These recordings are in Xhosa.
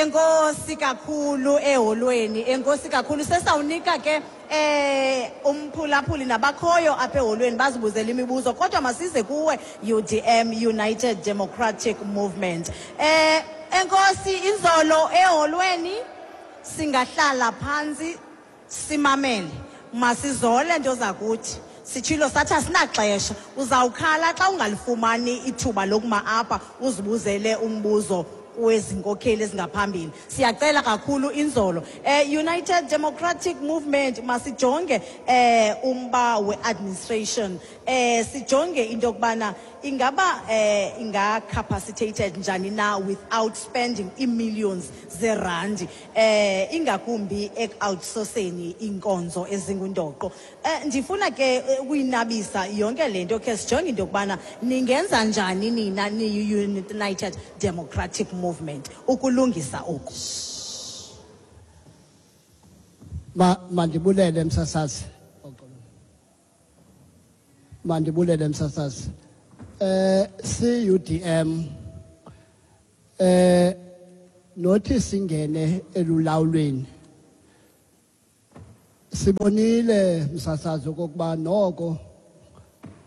Enkosi kakhulu eholweni, enkosi kakhulu. Sesawunika ke umphulaphuli nabakhoyo apha eholweni bazibuzele imibuzo, kodwa masize kuwe UDM, United Democratic Movement. Enkosi inzolo eholweni, singahlala phantsi simamele. Masizole nto zakuthi. Sitshilo sathi asinaxesha. Uzawukhala xa ungalifumani ithuba lokuma apha uzibuzele umbuzo wezinkokheli ezingaphambili. Siyacela kakhulu inzolo. United Democratic Movement, masijonge umba we-administration. Sijonge into yokubana ingaba inga-capacitated njani na without spending ii-millions zerandi, ingakumbi eku-outsourceni iinkonzo ezingundoqo. Ndifuna ke ukuyinabisa yonke le nto, khe sijonge into yokubana ningenza njani nina niyi-United Democratic Movement ukulungisa oku. Mandibulele msasazi. Mandibulele msasazi. CUDM nothi singene elulawulweni. Sibonile msasazi okokuba noko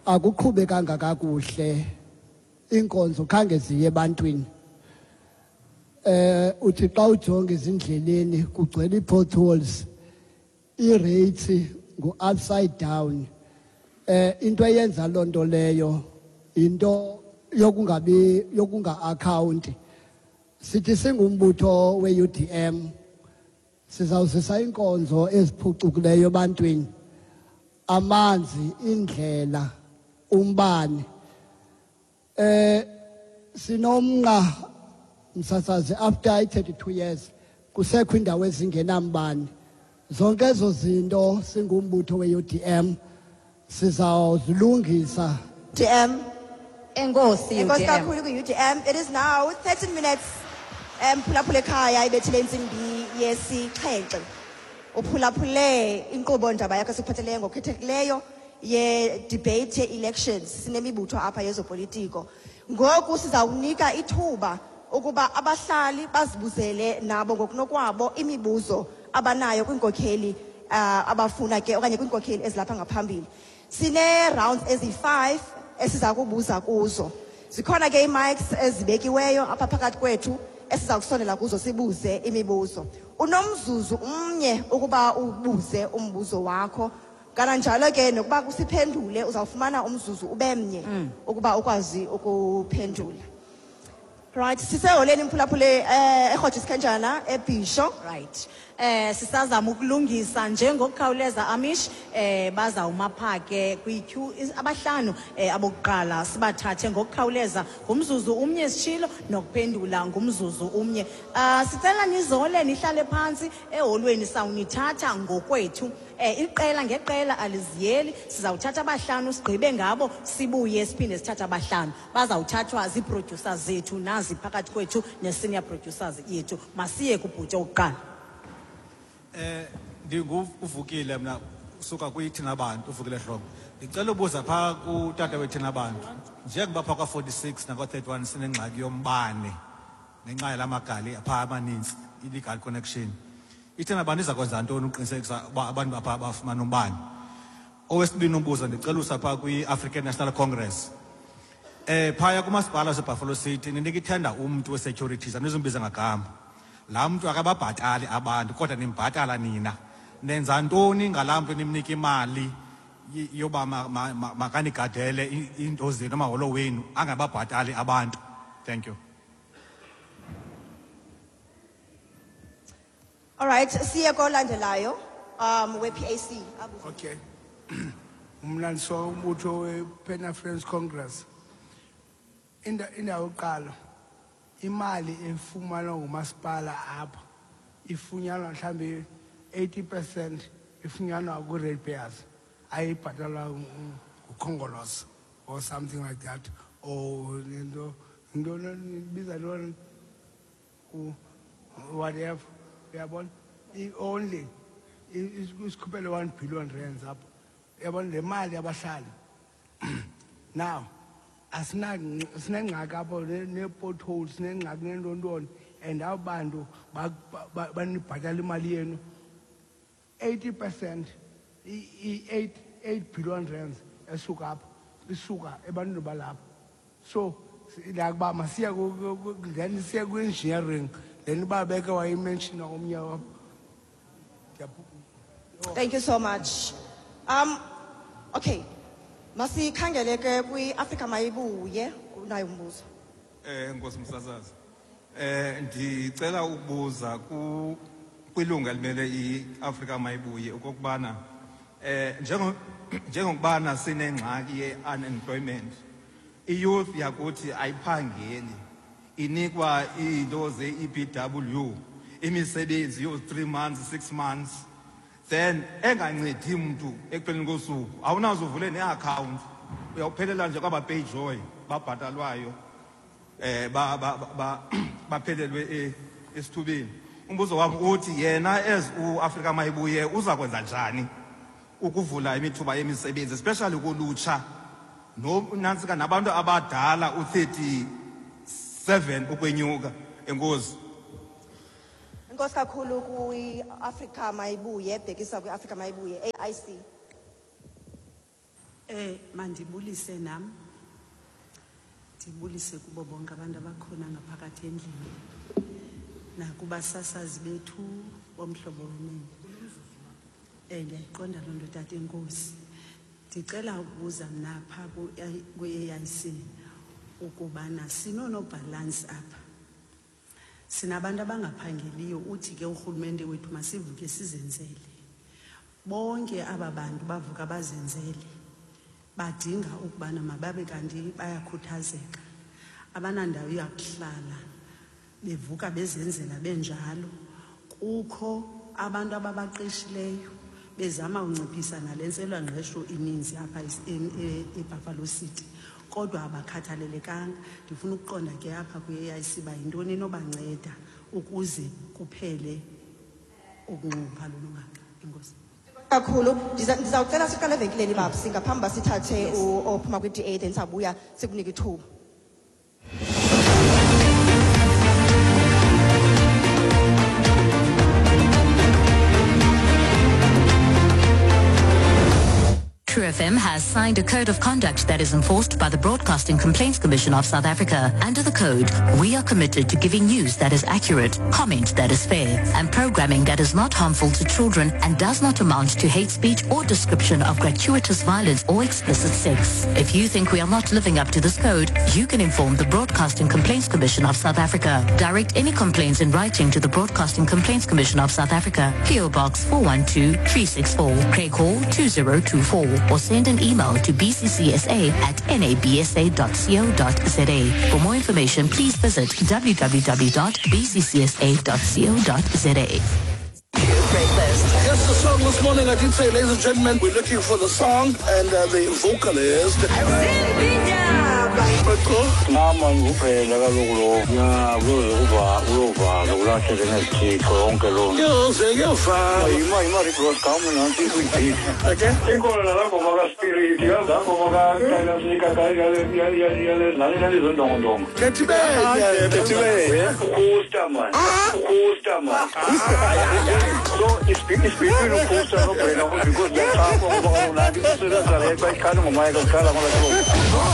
akuqhubekanga kakuhle, inkonzo khange ziye ebantwini. Uthi xa ujonga ezindleleni kugcwele ii-potholes, ii-rates ngu-upside down. Into eyenza loo nto leyo into yokungabi yokunga-akhawunti. Sithi singumbutho we-UDM sizawuzisa iinkonzo eziphucukileyo ebantwini, amanzi, indlela, umbane. Sinomnqa msasazi, after i-32 years kusekho indawo ezingenambane. Zonke ezo zinto singumbutho we-UDM sizawuzilungisa. UDM. Enkosi, Enkosi UDM. kakhulu kwi-UDM. It is now 13 minutes phulaphula ekhaya ibethile intsimbi yesixhenxe. Uphulaphule inkqubo ndaba yakho esikuphatheleyo ngokukhethekileyo ye-debate ye-elections. Sinemibutho apha yezopolitiko. Ngoku sizawunika ithuba ukuba abahlali bazibuzele nabo ngokunokwabo imibuzo abanayo kwiinkokheli abafuna ke okanye kwiinkokheli ezilapha ngaphambili. Sine rounds ezi-5 esiza kubuza kuzo. Zikhona ke ii-mics ezibekiweyo apha phakathi kwethu esiza kusondela kuzo sibuze imibuzo. Unomzuzu umnye ukuba ubuze umbuzo wakho. Kananjalo ke nokuba kusiphendule uzawufumana umzuzu ube mnye ukuba ukwazi ukuphendula. Right, siseholeni mphulaphule eRhoji Sikhenjana eBhisho. Right. Sisazama ukulungisa njengokukhawuleza Amish, bazawuma pha ke kwi-queue abahlanu abokuqala sibathathe ngokukhawuleza ngumzuzu umnye sitshilo nokuphendula ngumzuzu umnye. Sicela nizole nihlale phantsi eholweni, sawunithatha ngokwethu. Iqela ngeqela aliziyeli, sizawuthatha abahlanu sigqibe ngabo sibuye siphinde sithathe abahlanu. Bazawuthathwa zii-producers zethu nazi phakathi kwethu ne-senior producers yethu. Masiye kubhuti owokuqala. Ndinguvukile mna usuka kwiThina Bantu, uVukile Hlobo. Ndicela ubuza phaa kutata weThina Bantu, njengoba phaa kwa-46 nakwa-31 sinengxaki yombane ngenxa yala magali phaa amanintsi, illegal connection. IThina Bantu iza kwenza ntoni uqinisekisa uba abantu baphaa bafumana umbane? Owesibini umbuzo ndicela usa phaa kwi-African National Congress. Phaya kumasipala waseBuffalo City ninika ithenda umntu we-securities, andizumbiza ngagama. Laa mntu akababhatali abantu kodwa nimbhatala nina. Nenza ntoni ngalaa mntu nimnika imali yoba makanigadele iinto zenu, amaholo wenu, angababhatali abantu? Thank you. All right, siye kolandelayo we-PAC. Okay. Mna ndiso umbutho we-Pan African Congress. Indawo yokuqala, imali efumanwa ngumasipala apha ifunyanwa mhlawumbi 80% ifunyanwa kwi-ratepayers, ayibhatalwa nguKhongolose or something like that, or into ibiza ntoni, whatever, uyabona? Only isikhuphele 1 billion rands apho, uyabona, le mali yabahlali. Now sinengxaki apho nee-potholes, sinengxaki neentontoni, And abo bantu banibhatala imali yenu 80%, i-8 billion rands esuka apha isuka ebantwini balapha. So like uba masiye then siye kwi-engineering, then uba beke wayimenshina omnye wapha. Thank you so much. Okay, masikhangele ke kwi-Afrika Mayibuye, unayo umbuzo. Nkosi Msasazi. Ndicela ukubuza kwilungu elimele iAfrika Mayibuye okokubana njengokubana sinengxaki ye-unemployment, i-youth yakuthi ayiphangeli, inikwa iinto ze-EPW, imisebenzi yo 3 months, 6 months, then engancedi mntu ekupheleni kosuku. Awunaze uvule ne-account, uyawuphelela nje kwaba pay joy babhatalwayo, baphelelwe esithubeni. Umbuzo wami uthi yena as uAfrika Mayibuye uza kwenza njani ukuvula imithuba yemisebenzi, especially kulutsha no nantsika nabantu abadala u-37 ukwenyuka. Enkosi. Enkosi kakhulu kwi-Afrika Mayibuye, bhekisa kwi-Afrika Mayibuye, AIC. Mandibulise nam. Ndibulise kubo bonke abantu abakhona ngaphakathi endlini. Nakubasasazi bethu bomhlobo wenene. Ndiyayiqonda loo nto, tata, enkosi. Ndicela ukubuza mna phaa kwi-AIC ukubana sinoonobhalansi apha. Sinabantu abangaphangeliyo, uthi ke urhulumente wethu masivuke sizenzele. Bonke aba bantu bavuka bazenzele. Badinga ukubana mababe kanti bayakhuthazeka. Abanandawo yakuhlala, bevuka bezenzela benjalo. Kukho abantu ababaqeshileyo bezama unciphisa nale ntswelangqesho ininzi apha eBuffalo City, kodwa abakhathalelekanga. Ndifuna ukuqonda ke apha kwi-AIC uba yintoni enobanceda ukuze kuphele ukunxunguphala olungaka. Enkosi kakhulu. Ndizawucela siqale evenkileni, babsi, ngaphambi uba sithathe ophuma kwi-DA, then sawubuya sikunike ithuba. True FM has signed a code of conduct that is enforced by the Broadcasting Complaints Commission of South Africa. Under the code, we are committed to giving news that is accurate, comment that is fair, and programming that is not harmful to children and does not amount to hate speech or description of gratuitous violence or explicit sex. If you think we are not living up to this code, you can inform the Broadcasting Complaints Commission of South Africa. Direct any complaints in writing to the Broadcasting Complaints Commission of South Africa, P.O. Box 412364, Craighall 2024, or send an email to bccsa@nabsa.co.za. For more information, please visit www.bccsa.co.za. Breakfast. Yes, the song this morning, I did say, ladies and gentlemen, we're looking for the song and the vocalist. Mama ngubhela kaloku lo. Ya, kuyoze kuyovala kulahleke nezithixo yonke loo nto. Yoze kuyovala. Yima yima Rick Gama nansi ikwijipi. Okay. Ikhona nalaa ngoma kaSpirit, yazi laa ngoma kaSika nale zondongondongo. Kethibele. Kethibele. Ukhusta man. Ukhusta man. So it's between ukhusta noBrenda because ndiyaqapha ngoba kaloku nanti isebenza le xa ikhala ngoma yakhe kukhala ngola hlobo.